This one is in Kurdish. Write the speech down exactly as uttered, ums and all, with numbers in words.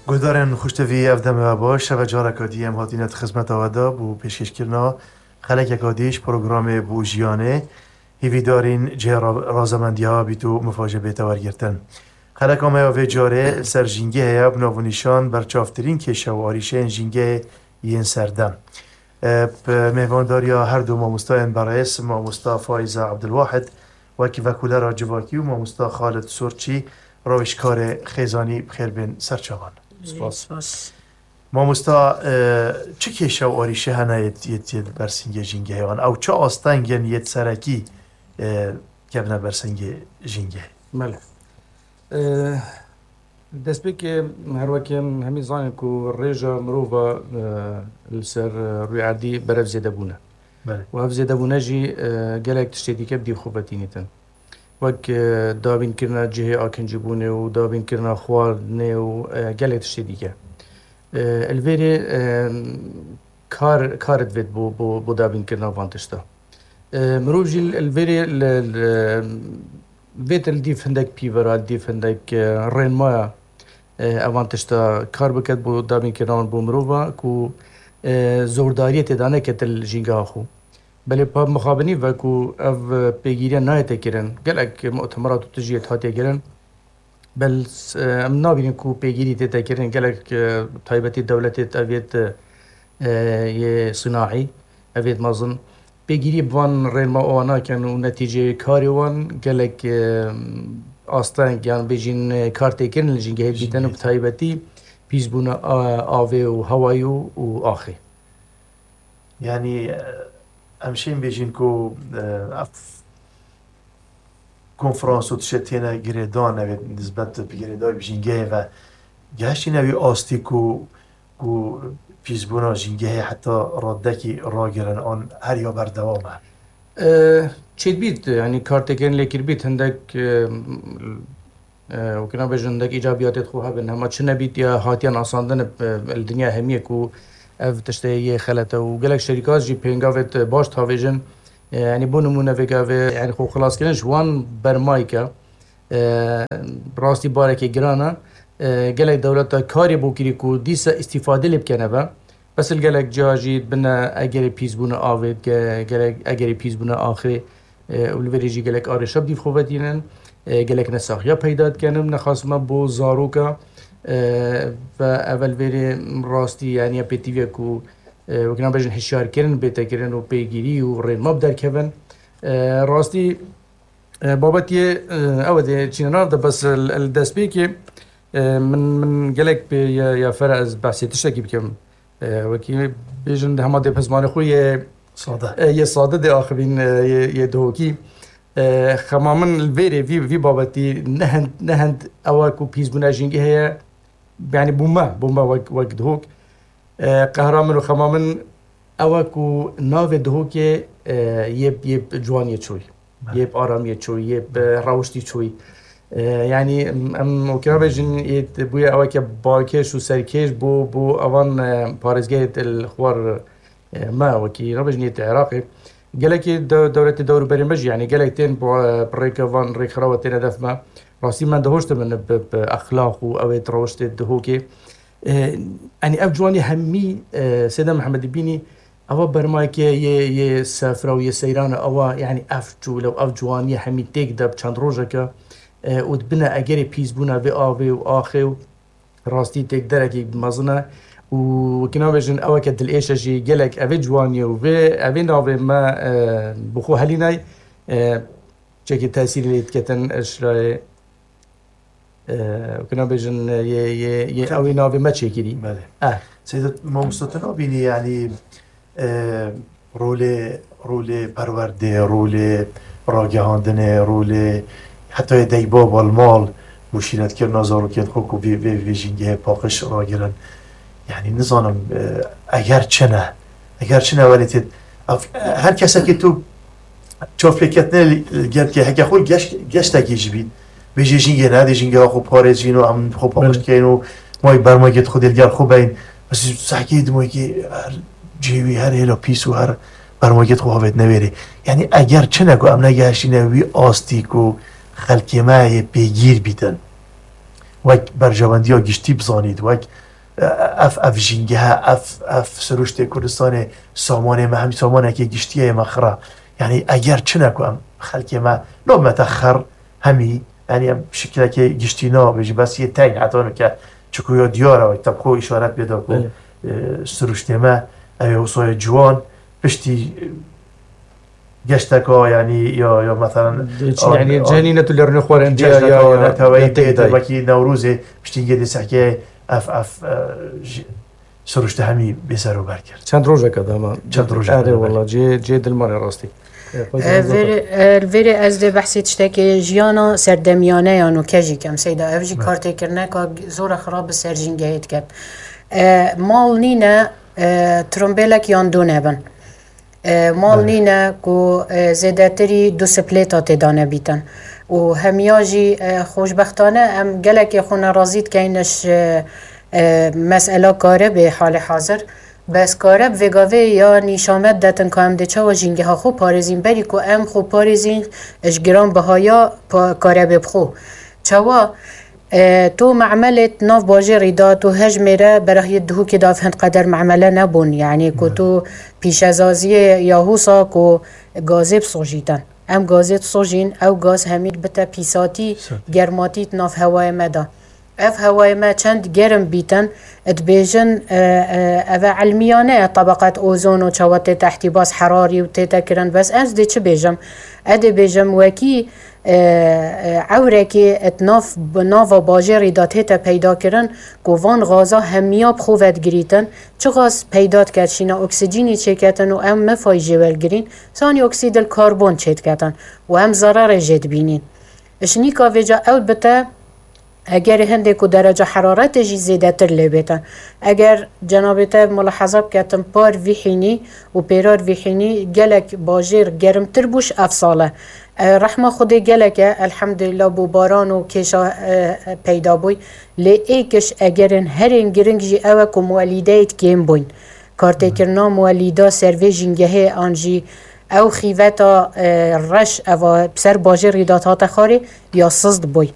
Guhdarên xweştevî, ev dem we baş. Şeve careka dî em hatine di xizmeta we de bo pêşkêşkirina xelekeka dî ji programê Bo Jiyanê. Hîvîdarîn cihê ra-, razemendiya bît û mifa jê bête wergirtin. Xeleka me ya vê carê li ser jîngehê ye, bi nav û nîşan berçavtirîn kêşe û arîşeyên jîngehê yên serdem. E, bi mêvandariya her du mamostayên berêz, mamosta Faiza Abdulwahid, wek vekolera civakî û mamosta Xalid Sorçî, rawêjkarê xêzanî, bi xêr bên ser çavan. Spas. Spas. Mamosta, e, çi kêşe û arîşe hene yê, yê, yê ber singê jîngehê wan? Ew çi astengên yê serekî, e, kevne ber singê jîngehê? Belê. E, destpêkê her wekî em hemî zanin ku rêja mirova, e, li ser, e, rûyê erdî berev zêde bûne. Belê. Û ev zêdebûne jî, e, gelek tiştê dîke bi dîv xwe ve tînîtin. Wek, e, dabînkirina cihê akincîbûnê û dabînkirina xwarinê û, e, gelek tiştê dîke. E, li vêrê, e, kar, kar divêt bo, bo, bo dabînkirina van tişta. E, mirov jî li vêrê li, li, vêt li dîv hindek pîvera, li dîv hindek, e, rênmaya, e, evan tişta kar biket bo dabînkirina wan bo mirova ku, e, zordariyê tê de neket li jîngeha xwe. Belê pa mixabinî ve ku ev pêgîriya nayête kirin, gelek mutemerat û tijî yê hatiye kirin. Bel, e, em nabînin ku pêgîrî tête kirin, gelek, e, taybetî dewletê ev yêt, e, yê sinaî, ev yêt mezin. Pêgîrî bi van rênma wan nakin û netîceyê karê wan gelek, e, asteng, yan bêjin, e, kar tê kirin li jîngehê dîtin û bi taybetî pîsbûna, a, avê û hewayê û, û axê. Yanî, e, em şên bêjin ku, e, ev konferans û tiştê têne girêdan, ev ê nisbet bi girêdayî bi jîngehê ve gehiştîne wî astî ku, ku pîsbûna jîngehê heta radekî ragirin an her ya berdewam e? E, çêdbît, yanî kar têkirin lê kirbît, hindek, e, e, wekî nabêjin, hindek îcabiyatê xwe hebin, hema çi nebît ya hatiye nasandin, e, li dinya hemiyê ku ev tiştê yê xelet e û gelek şerîka jî pêngavêt baş tavêjin. E, yanî bo nimûne vê gavê, yanî xwe xilaskirin ji wan bermayî ke, e, rastî barekê giran e. E, gelek dewleta karê bo kirî ku dîsa îstîfadê lê bikene ve. Bes li gelek ciya jî bine egerê pîsbûna avê, ge-, gelek egerê pîsbûna axê, e, û li vêrê jî gelek arêşa bi dîv xwe ve tînin, e, gelek nesaxiya peyda dikenin, nexasima bo zaroka, e, ve evel vêrê rastî, yanî ya pêtivî ye ku, e, wekî nabêjin hişyarkirin bête kirin û pêgîrî û rênma bi derkevin. E, rastî, e, babetiyê, e, ew e dê çîne nav de bes li, li destpêkê, e, min, min gelek pê ya, ya fera ez behsê tiştekî bikim. E, wekî bêjin hema dê bi zimanê xwe yê, sade, e, yê sade dê axivîn, e, yê, yê dihokî. E, xema min li vêrê vî, vî babetî nehend, nehend ew e ku pîsbûna jîngehê ye, yanî bo me, bo me wek, wek dihok. E, qehra min û xema min ew e ku navê dihokê, e, yê, yê bi ciwaniyê çûyî, yê bi aramiyê çûyî, yê bi rewiştî çûyî. E, yanî em, em wekî nabêjin yê bûye eweke balkêş û serkêş bo, bo evan, e, parêzgehê li xwar, e, me wekî nabêjin yê Iraqê. Gelekî de-, dewletê dewrûberê me jî, yanî gelek tên bi, bi rêke van rêkxirawa têne def me. Rastî me dihoşt min bi, bi exlaq û ew ê rewiştê dihokê. E, yanî ev ciwanî hemî, e, Sêde Mihemedî bînî, ewa bermayekê yê, yê sefra û yê seyran e, ewa, yanî ev çûl û ev ciwanî hemî têk de bi çend rojeke, e, û dibine egerê pîsbûna vê avê û axê û rastî têk derekî mezin e û wekî nabêjin eweke dilêş e jî gelek evê ciwanî û vê, evê navê me, e, bi xwe helînay, e, çekî tesîrê lê diketin, e, şirayê, e, wekî nabêjin, e, yê, yê, yê ewê navê me çêkirî. Belê. Eh. Seyda, mamosta, tu nabînî, yanî, e, rolê, rolê perwerdê, rolê ragihandinê, rolê heta yê deyba balmal, muşîretkirina zarokên xwe ku vê, vê, vê jîngehê paqij ragirin. Yanî nizanim, e, eger çi ne, eger çi ne welê tê, ev, her kesekî tu çavpêketinê li, li gel ke heke xwe geş-, geştekî ji bîn. Bêjê jîngê ne, dê jîngeha xwe parêzîn û em xwe paqij dikeyn û may bermagê xwe dê li gel xwe beyn. Ez sehkê dimoykê her cihê wî, her hêla pîs û her bermagê xwe havêt newêrê. Yanî eger çi ne ku em negehiştîne wî astî ku xelkê me yê pêgîr bîtin. wek berjewendiya giştî bizanît, wek, e, ev, ev jîngehe, ev, ev siruştê Kurdistanê samanê me, hemî samanekê giştî ye, yê me xira. Yanî eger çine ku em xelkê me, nabime te xer, hemî, yanî em şikilekê giştî nabêjî, bes yê teng heta nuke, çiku ya diyar e, wek te bi xwe îşaret pê da ku, Belê. e, siruştê me, ew ê wisa ye ciwan, piştî, e, geşteka, yanî ya, ya meselen, Dê çi, an-, yanî an-, cenîne tu lêrine xwarê em diya, geşteka ya, ya, neteweyî ya tê tê de. Wekî Newrozê, piştî yê dê sehkeyê ev, ev, e, ji, siruşte hemî bêser û ber kir. Çend rojeke de ama. Çend rojeke Erê de, wala, belê. cê, cê dilmanê rastî. E, xwezî E, hezar vêrê, e, vêrê ez dê behsê tiştekê jiyana serdemiyane ya nûke jî kem Seyda. Ev jî Belê. kartêkirineka zora xirab bi ser jîngehê diket. E, mal nîne, e, trombêlek yan du nebin. E, mal Belê. nîne ku, e, zêdetirî du siplêta tê dane bîtin. Û hemiya jî, e, xweşbextane em gelekê xwe nerazî dikeyn ji, e, mesela karibê halê hazir. Bes karib vêgavê ya nîşamet detin ku em dê çawa jîngeha xwe parêzîn, berî ku em xwe parêzîn ji giranbihaya pa-, karebê bi xwe. Çawa? E, tu me'melê di nav bajêrî de, tu hejmêre berahiyê Duhokê de ev hin qeder me'mele nebûn. Yanî ku Belê. tu pîşezaziyê ya husa ku gazê bisojîtin. Em gazê disojîn, ew gaz hemî bite pîsatî, Pîsatî. germatî di nav hewayê me de. Ev hewayê me çend germ bîtin, dibêjin, e, e, ev e elmiyane ye, tebeqet ozon û çawa tê te ihtîbas herarî û tê te kirin. Bes ez dê çi bêjim? Ez dê bêjim wekî, e, e, ewrekê di nav, bi nava bajêrî de tête peyda kirin ku van gaza hemiya bi xwe vedigirîtin. Çi gaz peyda diket, şîna oksîjînî çêketin û em mifayî jê wergirîn, sanî oksîdil karbon çêdiketin û em zererê jê dibînîn. Ji nîka vêca ew bite, eger hindê ku dereca heraretê jî zêdetir lê bêtin. Eger cenabê te mulaheza biketin par vî hînî û pêrar vî hînî gelek bajêr gerimtir bû ji ev sal e. E, rehma Xwedê gelek e, elhemdulillah, bû baran û kêşa, e, e, peyda bûy. Lê ê kiş egerên herên giring jî ew e ku muwelîdeyê kêm bûyn. Kartêkirina muwelîda ser vê jîngehê an jî ew xîveta, e, reş eva bi ser bajêrî de hate xwarê ya siz dibûy.